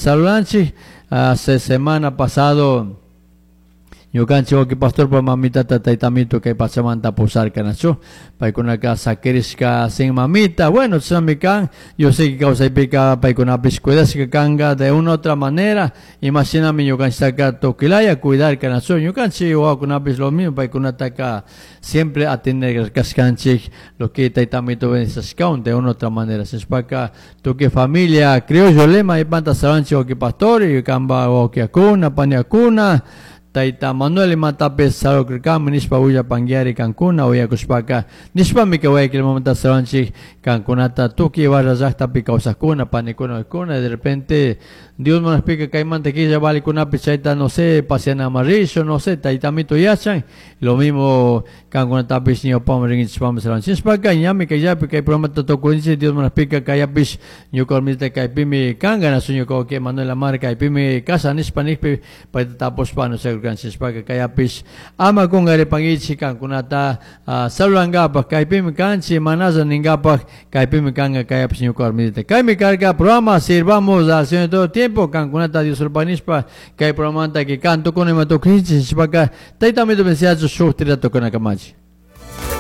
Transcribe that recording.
Saludanchik. Hace semana pasado ñukanchik wawki pastorpa mamitata taytamito kay pachamanta pusarka nachu paykunaka sakirishka sin mamita. Bueno, chashnami kan. Yo sé que kawsaypika paykunapish cuidashka kanka de una otra manera. Imashinami ñukanchiktaka tukilaya cuidarka nachu ñukanchik wawakunapish lo mismo paykunataka siempre atender kashkanchik lo que taytamito bendecishkawan de una otra manera. Shinashpaka tukuy familia criollo lema ipanta saludanchik wawki pastor y kanpa wawkiakuna paniakuna Tayta Manuel imatapis saludirkami nishpa willapanguiari kankuna uyakushpaka nishpami kay Guayaquilmanta saludanchik kankunata tukuy Ibarra llaktapi kawsakuna panikuna wawkikuna. De repente Dios munakpika kaymanta killa valikunapi chayta, no sé, paseanaman rishun, no sé, taytamito yachan. Lo mismo kankunatapish ñawpaman rinkichishpami saludanchik. Nishpaka ñami kayllapi kay programata tukurinchik. Dios munakpika kayapish ñuka warmita kaypimi kanka nasu ñuka wawki Manuel Amar kaypimi kasha nishpa nikpi payta tapushpa anunciakurkanchik. Nishpaka kayapish ama kunkaripankichik kankunata saludankapak kaypimi kanchik manalla ninkapak kaypimi kanka kayapish ñuka warmita. Kaymi karka programa Sirvamos al Señor todo tiempo. Kankunata Dios nishpa kay programanta que canto con ima tukurinchik. Nishpaka taytamito bendeciachu shuk tira tukunakamachi.